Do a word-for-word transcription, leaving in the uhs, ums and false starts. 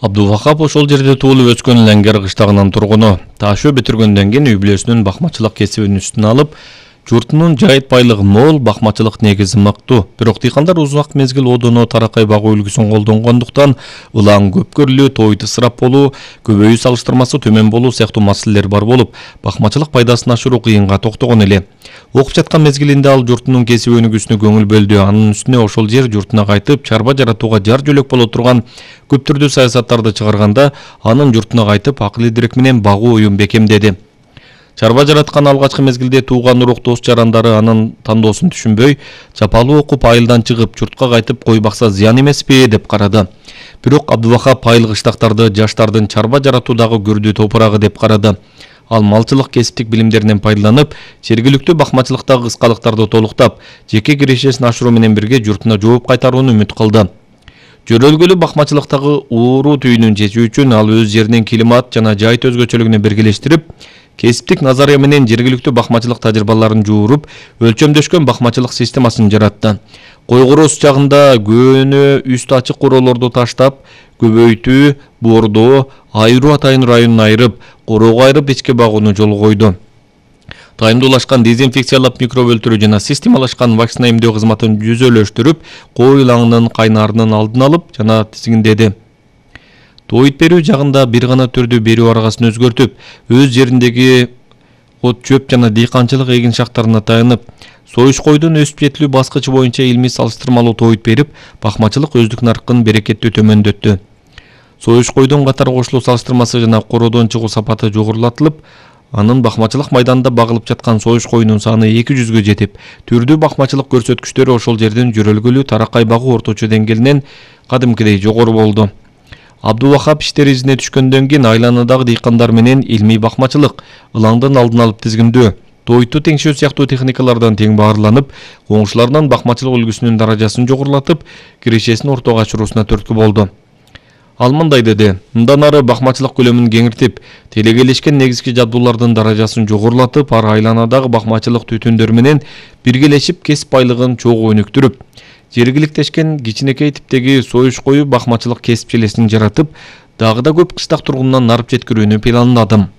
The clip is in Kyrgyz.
Абдувахап ошол жерде туулуп өскөн Леңгер кыштагынын тургуну. Ташөө бүтүргөндөн кийин үй-бүлөсүнүн бакмачылык кесибин үстүнө алып, журтунун жайыт байлыгы мол, бакмачылык негизи мыктуу. Бирок дыйкандар узак мезгил одоно таракай багуу үлгүсүн колдонгондуктан ылаң көп көрүлүү, тойду ысырап болуу, көбөйүү салыштырмасы төмөн болуу сыяктуу маселелер бар болуп, бакмачылык пайдасын ашыруу кыйынга токтогон эле. Окуп жаткан мезгилинде ал журтунун кесип өнүгүүсүнө көңүл бөлдү. Анын үстүнө ошол жер журтуна кайтып, чарба жаратууга жар жөлөк боло турган көп түрдүү саясаттарды чыгарганда, анын журтуна кайтып акыл идирек менен багуу оюн бекемдеди. Чарба жараткан алгачкы мезгилде тууган урук дос жарандары анын тандоосун түшүнбөй, чапалуу окуп айылдан чыгып, журтка кайтып кой бакса зыян эмеспи деп карады. Бирок Абдувахап айыл кыштактарды жаштардын чарба жаратуудагы көрдүү топурагы деп карады. Ал малчылык кесиптик билимдеринен пайдаланып, жергиликтүү бакмачылыктагы кыскалыктарды толуктап, жеке кирешесин ашыруу менен бирге журтуна жооп кайтарууну үмүт кылды. Жөрөлгөлүү бакмачылыктагы ууруу түйүнүн чечүү үчүн ал өз жеринин климат жана жайыт өзгөчөлүгүнө биргелештирип, кесиптик назария менен жергиликтүү бакмачылык тажрыйбаларын жууруп, өлчөмдөшкөн бакмачылык системасын жаратты. Кой короосу чагында көөнө үстү ачык короолорду таштап, көбөйтүү, боордоо, айыруу атайын районун айырып, короого айырып ичке багууну жолго койду. Тайымдуулашкан дезинфекциялап микроб өлтүрүү жана системалашкан вакцина эмдөө кызматын жүзөлөштүрүп, кой ылаңынын кайнаарынын алдын алып жана тизгиндеди. Тоойт берүү жагында бир гана түрдүү берүү аргасын өзгөртүп, өз жериндеги от чөп жана дыйканчылык эгин шактарына таянып, союш койдун өсүп жетилүү баскычы боюнча илмий салыштырмалуу тоойт берип, бакмачылык өздүк наркын берекеттүү төмөндөттү. Союш койдун катар кошулуу салыштырмасы жана короодон чыгуу сапаты жогорулатылып, анын бакмачылык майданында багылып жаткан союш койунун саны эки жүзгө жетип, түрдүү бакмачылык көрсөткүчтөрү ошол жердин жөрөлгөлүү таракай багуу орточо деңгээлинен кадимкидей жогору болду. Абдувахап иштер изине түшкөндөн кийин айланадагы дыйкандар менен илмий бакмачылык, ылаңдын алдын алып тизгиндөө, тойту теңшөө сыяктуу техникалардан тең баарыланып, коңшуларынын бакмачылык үлгүсүнүн даражасын жогорулатып, кирешесин ортого ачыруусуна түрткү болду. Ал мындай деди: мындан ары бакмачылык көлөмүн кеңиртип, телегелешкен негизги жабдуулардын даражасын жогорулатып, ар айланадагы бакмачылык түтүндөр менен биргелешип кесип байлыгын чогуу өнүктүрүп, жергиликтешкен кичинекей типтеги союш коюу бакмачылык кесип желесин жаратып, дагы да көп кыштак тургунунан нарып жеткирүүнү пландадым.